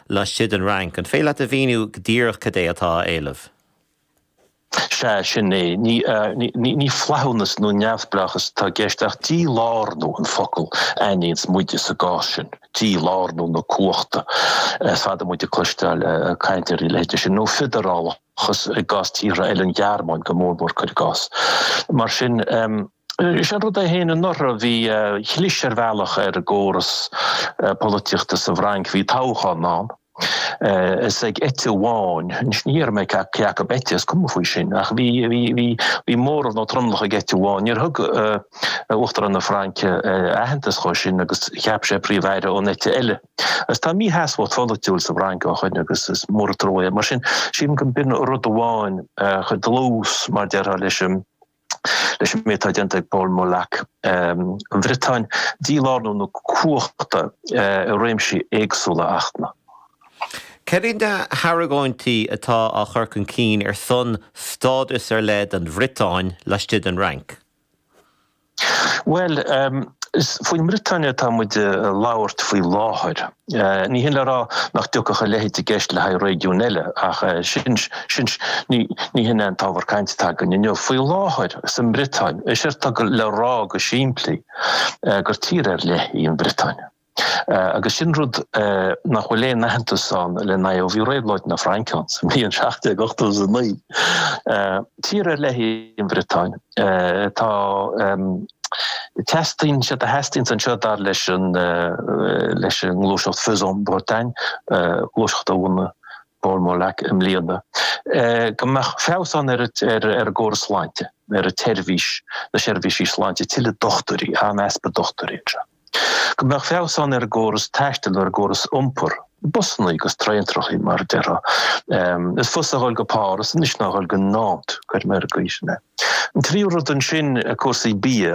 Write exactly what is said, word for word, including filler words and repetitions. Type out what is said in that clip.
laistigh den Fhrainc. An féidir leat a mhíniú go díreach cad é atá á éileamh? Sea, sin é. Ní, ní, ní flaithiúnas nó neamhspleáchas atá i gceist ach dílárnú an focal a aithníonns muide sa gcás sin, dílárnú na cumhachta. Is fada muid ag cloisteáil caint ar a leithéid sin, nó feidearálachas i gcás tíortha eile, an Ghearmáin go mór mór, cuir i gcás. Mar sin, is an rud é féin anuraidh bhí chlis ar bhealach ar an gcóras polaitíochta sa bhFrainc, bhí toghchán ann. Is ag eite amháin, anois ní déarfaidh mé cé acu eite, is cuma faoi sin, ach bhí, bhí, bhí, bhí móramh nó tromlach ag eite amháin. Níor thug Uachtarán na Fraince aitheantas dhó sin agus cheap sé príomh-aire ón eite eile. Agus tá mísheasmhacht pholaitiúil sa bhFrainc ó shoin agus is mór an trua é. Mar sin, sílim go mb'in rud amháin a chuir dlús, mar déarfá, leis an leis an méid atá déanta ag Paul Molac, an Bhriotáin, dílárnú na cumhachta i réimsí éagsúla achtanna. Cad iad na hargóintí atá á chur chun cinn ar son stádas ar leith don Bhriotáin laistigh den Fhrainc? Bhuel, is faoin mBriotáin atá muid ag labhairt faoi láthair. Ní hin le rá nach dtiocfadh a leithéid i gceist le haghaidh réigiún eile, ach sin, sin, ní, ní hin é an t-ábhar cainte atá againn inniu. Faoi láthair, sa mBriotáin, is éard atá le rá go simplí gur tír ar leith í an Bhriotáin. Agus sin rud nach bhfuil aon aitheantas ann lena aghaidh ó bhí Réabhlóid na Fraince ann sa mbliain seacht déag ochtó is a naoi. Tír ar leith í an Bhriotáin. Tá teastaíonn sé a theastaíonns anseo dar leis an leis an ngluaiseacht Faisons Bretagne, gluaiseacht a bhunaigh Paul Molac i mbliana, go mbeadh feabhas ann ar ar an gcóras sláinte, ar an tseirbhís, na seirbhísí sláinte, tuilleadh dochtúirí, an-easpa dochtúirí anseo. Go mbeadh feabhas ann ar an gcóras taistil, ar an gcóras iompair, busanna agus traentrachaí mar a déarfá. Is fusa a dhul go Páras anois ná a dhul go Nantes, cuir mé ar an gcaoi sin é. An tríú rud ansin, cúrsaí bia.